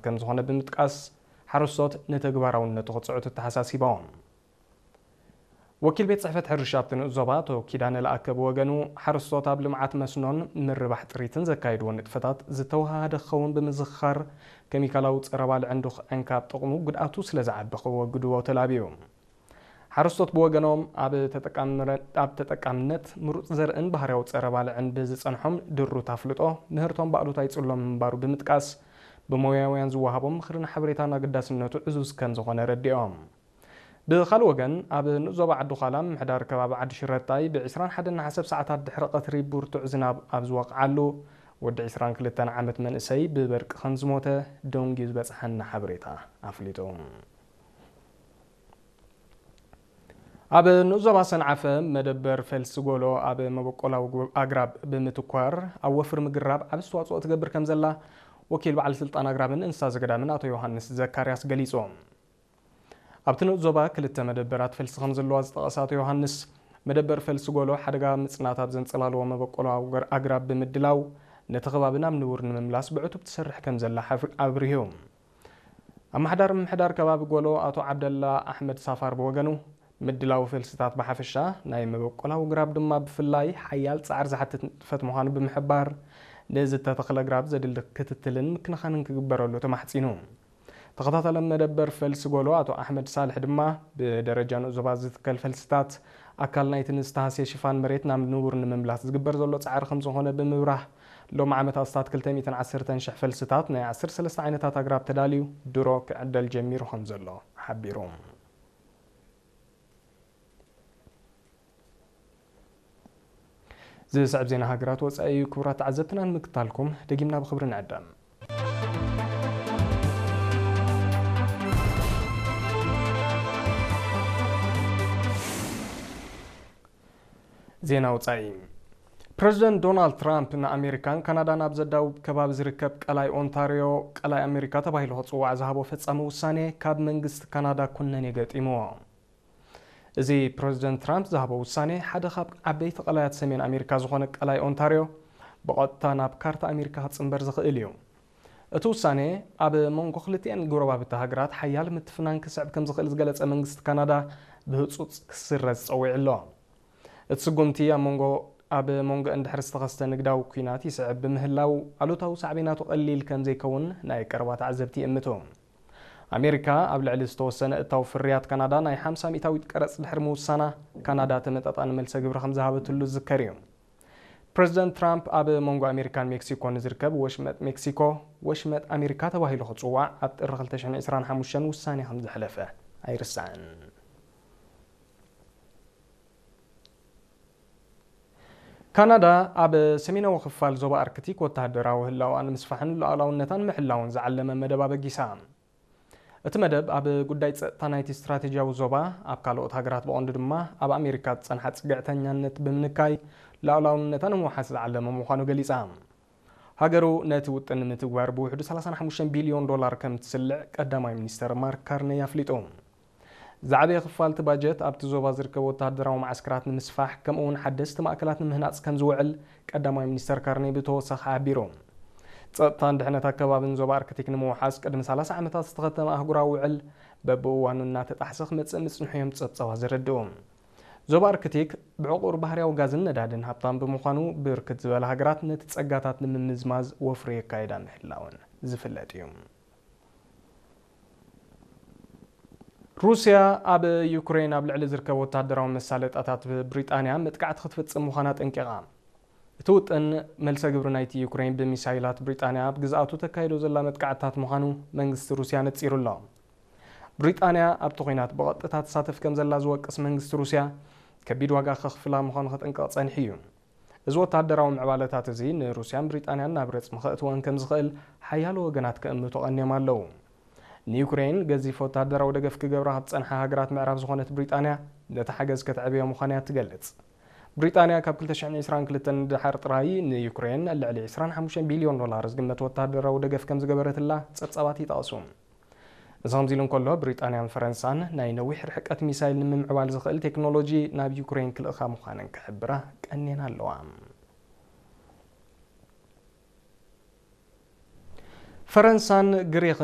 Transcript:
ከም ዝኾነ ብምጥቃስ፣ ሓረስቶት ንተግባራውነቱ ክጽዕቱ ኣተሓሳሲቦም። ወኪል ቤት ጽሕፈት ሕርሻ ኣብቲ ንኡስ ዞባ ኣቶ ኪዳነ ለኣከ ብወገኑ፣ ሓረስቶት ኣብ ልምዓት መስኖን ምርባሕ ጥሪትን ዘካየድዎ ንጥፈታት ዝተወሃሃደ ክኸውን ብምዝኽኻር፣ ኬሚካላዊ ጸረ ባልዕን ዱኽዕን ካብ ጥቕሙ ጉድኣቱ ስለ ዝዓቢ ክወግድዎ ተላብዩ። ሓረስቶት ብወገኖም፣ ኣብ ተጠቃምረ-፣ ኣብ ተጠቃምነት ምሩጽ ዘርእን ባህርያዊ ጸረ ባልዕን ብዝጸንሖም ድሩት ኣፍልጦ፣ ምህርቶም ብኣሉታ ይጽሎም ምንባሩ ብምጥቃስ፣ ብሞያውያን ዝወሃቦም ምኽርን ሓበሬታን ኣገዳስነቱ ዕዙዝ ከም ዝኾነ ረዲኦም። ብኻልእ ወገን፣ ኣብ ንኡስ ዞባ ዓዲ ዃላ ምምሕዳር ከባቢ ዓዲ ሽረታይ ብ ዕስራን ሓደን ነሓሰ ሰዓታት ድሕሪ ቀትሪ ብርቱዕ ዝናብ ኣብ ዝወቕዓሉ፣ ወዲ ዕስራን ክልተን ዓመት መንእሰይ ብበርቂ ከም ዝሞተ ደንጉዩ ዝበጽሓና ሓበሬታ ኣፍሊጡ። ኣብ ንኡስ ዞባ ሰንዓፈ መደበር ፈልሲ ጎሎ ኣብ መበቆላዊ ጎ-፣ ኣግራብ ብምትኳር ኣብ ወፍሪ ምግራብ ዓቢ ኣስተዋጽኦ ትገብር ከም ዘላ ወኪል በዓል ስልጣን ኣግራብን እንስሳ ዘገዳምን ኣቶ ዮሃንስ ዘካርያስ ገሊጹ። ኣብቲ ንኡስ ዞባ ክልተ መደበራት ፈልሲ ከም ዘለዋ ዝጠቐሰ ኣቶ ዮሃንስ፣ መደበር ፈልሲ ጎሎ ሓደጋ ምጽናት ኣብ ዘንጸላልዎ መበቆላዊ ኣገር-፣ ኣግራብ ብምድላው ነቲ ከባቢ ናብ ንቡር ንምምላስ ብዕቱብ ትሰርሕ ከም ዘላ ሓፍ-፣ ኣብሪሁ። ኣመሓዳሪ ምምሕዳር ከባቢ ጎሎ ኣቶ ዓብደላ ኣሕመድ ሳፋር ብወገኑ፣ ምድላው ፈልስታት ብሓፈሻ ናይ መበቆላዊ ግራብ ድማ ብፍላይ ሓያል ጻዕሪ ዝሓትት ንጥፈት ምዃኑ ብምሕባር፣ ንዝተተኽለ ግራብ ዘድሊ ክትትልን ምክንኻንን ክግበረሉ ተማሕጺኑ። ተኸታታሊ መደበር ፈልሲ ጎሎ ኣቶ ኣሕመድ ሳልሕ ድማ፣ ብደረጃ ንኡስ ዞባ ዝትከል ፈልስታት ኣካል ናይቲ ንዝተሃስየ ሽፋን መሬት ናብ ንቡር ንምምላስ ዝግበር ዘሎ ጻዕሪ ከም ዝኾነ ብምብራህ፣ ሎም ዓመት ኣስታት ክልተ ሚእትን ዓሰርተን ሽሕ ፈልስታት ናይ ዓሰርተ ሰለስተ ዓይነታት ኣግራብ ተዳልዩ ድሮ ክዕደል ጀሚሩ ከም ዘሎ ሓቢሩ። ዝስዕብ ዜና ሃገራት ወጻኢ እዩ። ክቡራት ተዓዘብትና ንምክታልኩም ደጊምና ብኽብሪ ንዕደም። ዜና ወጻኢ። ፕረዚደንት ዶናልድ ትራምፕ ንኣሜሪካን ካናዳን ኣብ ዘዳውብ ከባቢ ዝርከብ ቀላይ ኦንታርዮ፣ ቀላይ ኣሜሪካ ተባሂሉ ክጽዋዕ ዝሃቦ ፈጻሚ ውሳኔ ካብ መንግስቲ ካናዳ ኩነኔ ገጢምዎ። እዚ ፕረዚደንት ትራምፕ ዝሃቦ ውሳኔ፣ ሓደ ካብ ዓበይቲ ቀላያት ሰሜን ኣሜሪካ ዝኾነ ቀላይ ኦንታርዮ ብቐጥታ ናብ ካርታ ኣሜሪካ ክጽንበር ዝኽእል እዩ። እቲ ውሳኔ፣ ኣብ መንጎ ክልቲኤን ጎረባብቲ ሃገራት ሓያል ምትፍናን ክስዕብ ከም ዝኽእል ዝገለጸ መንግስቲ ካናዳ፣ ብህጹጽ ክስረዝ ጸዊዑ ኣሎ። እቲ ስጉምቲ፣ ኣብ መንጎ፣ ኣብ መንጎአን ድሕሪ ዝተኸስተ ንግዳዊ ኲናት ይስዕብ ብምህላው፣ ኣሉታዊ ሳዕቤናቱ ቀሊል ከም ዘይከውን ናይ ቀረባ ተዓዘብቲ ይእምቱ። ኣሜሪካ ኣብ ልዕሊ ዝተወሰነ እታው ፍርያት ካናዳ ናይ ሓምሳ ሚእታዊት ቀረጽ ድሕሪ ምውሳና፣ ካናዳ ተመጣጣኒ መልሰ ግብሪ ከም ዝሃበትሉ ዝዝከር እዩ። ፕረዚደንት ትራምፕ ኣብ መንጎ ኣሜሪካን ሜክሲኮን ንዝርከብ ወሽመጥ ሜክሲኮ፣ ወሽመጥ ኣሜሪካ ተባሂሉ ክጽዋዕ ኣብ ጥሪ ክልተ ሽሕን ዕስራን ሓሙሽተን ውሳኔ ከም ዘሕለፈ ኣይርሳዕን። ካናዳ ኣብ ሰሜናዊ ክፋል ዞባ ኣርክቲክ ወተሃደራዊ ህላወኣ ንምስፋሕን ሉዓላውነታን ምሕላውን ዝዓለመ መደብ ኣበጊሳ። እቲ መደብ ኣብ ጉዳይ ጸጥታ ናይቲ ስትራቴጂያዊ ዞባ፣ ኣብ ካልኦት ሃገራት ብቐንዱ ድማ ኣብ ኣሜሪካ ዝጸንሓ ጽግዕተኛነት ብምንካይ ሉዓላውነታ ንምውሓስ ዝዓለመ ምዃኑ ገሊጻ። ሃገሩ ነቲ ውጥን ንምትግባር ብውሕዱ ሰላሳን ሓሙሽተን ቢልዮን ዶላር ከም ትስልዕ ቀዳማይ ሚኒስተር ማርክ ካርነይ ኣፍሊጡ። ዝዓበየ ክፋል እቲ ባጀት ኣብቲ ዞባ ዝርከቡ ወተሃደራዊ መዓስከራት ንምስፋሕ፣ ከምኡ እውን ሓደስቲ ማእከላት ንምህናጽ ከም ዝውዕል ቀዳማይ ሚኒስተር ካርነይ ብተወሳኺ ሓቢሩ። ጸጥታን ድሕነት ኣከባብን ዞባ ኣርክቲክ ንምውሓስ ቅድሚ ሰላሳ ዓመታት ዝተኸተመ ኣህጉራዊ ውዕል በብእዋኑ እናተጣሕሰ ክመጽእ ምጽንሑ እዮም ጸብጻባት ዘረድኡ። ዞባ ኣርክቲክ ብዕቑር ባህርያዊ ጋዝን ነዳድን ሃብታም ብምዃኑ፣ ብርክት ዝበላ ሃገራት ነቲ ጸጋታት ንምምዝማዝ ወፍሪ የካይዳ ምህላወን ዝፍለጥ እዩ። ሩስያ ኣብ ዩክሬን ኣብ ልዕሊ ዝርከቡ ወተሃደራዊ መሳለጣታት ብሪጣንያ መጥቃዕቲ ክትፍጽም ምዃና ኣጠንቂቓ። እቲ ውጥን፣ መልሰ ግብሪ ናይቲ ዩክሬን ብሚሳይላት ብሪጣንያ ኣብ ግዝኣቱ ተካይዶ ዘላ መጥቃዕትታት ምዃኑ መንግስቲ ሩስያ ነጺሩ ኣሎ። ብሪጣንያ ኣብቲ ኲናት ብቐጥታ ትሳተፍ ከም ዘላ ዝወቅስ መንግስቲ ሩስያ፣ ከቢድ ዋጋ ከኽፍላ ምዃኑ ከጠንቅቕ ጸኒሑ እዩ። እዚ ወተሃደራዊ ምዕባለታት እዚ ንሩስያን ብሪጣንያን ናብ ረጽሚ ከእትወን ከም ዝኽእል ሓያሎ ወገናት ክእምቱ ቀንዮም ኣለዉ። ንዩክሬን ገዚፍ ወተሃደራዊ ደገፍ ክገብራ ካብ ዝጸንሓ ሃገራት ምዕራብ ዝኾነት ብሪጣንያ፣ ነቲ ሓገዝ ከተዕብዮ ምዃና እያ ትገልጽ። ብሪጣንያ ካብ ክልተ ሽሕን ዕስራን ክልተን ንደሓር ጥራይ ንዩክሬን ልዕሊ ዕስራን ሓሙሽተን ቢልዮን ዶላር ዝግመት ወተሃደራዊ ደገፍ ከም ዝገበረትላ ጸብጻባት ይጠቕሱ። እዚ ከምዚ ኢሉ እንከሎ፣ ብሪጣንያን ፈረንሳን ናይ ነዊሕ ርሕቀት ሚሳይል ንምምዕባል ዝኽእል ቴክኖሎጂ ናብ ዩክሬን ክልእኻ ምዃነን ክሕብራ ቀንየን ኣለዋ። ፈረንሳን ግሪኽን